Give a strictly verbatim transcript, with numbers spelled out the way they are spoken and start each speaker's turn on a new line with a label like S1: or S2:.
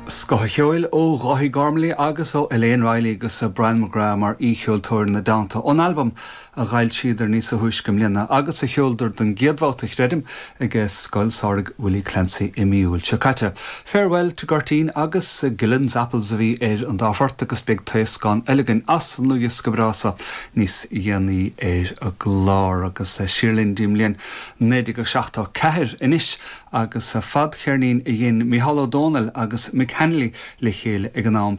S1: Scoth an cheoil ó Dháithí Gormley agus ó Elaine Riley agus Brian McGrath mar aoicheoltóir ina dteannta ón albam a d'fhoilsíodar níos túisce i mbliana agus a sheoladar don gcéad bhabhta creidim ag Scoil Samhraidh Willie Clancy i mí Iúil seo caite. Farewell to Gurteen agus Gillen's Apples a bhí ar an dá phort agus beidh taoscán eile againn as an dlúthdhiosca breá seo níos déanaí ar an gclár agus siar linn go dtí an bhliain naoi déag seachtó ceathair anois agus fadcheirnín a dhein Mícheál Ó Domhnaill agus Mick Hanley le chéile ag an am.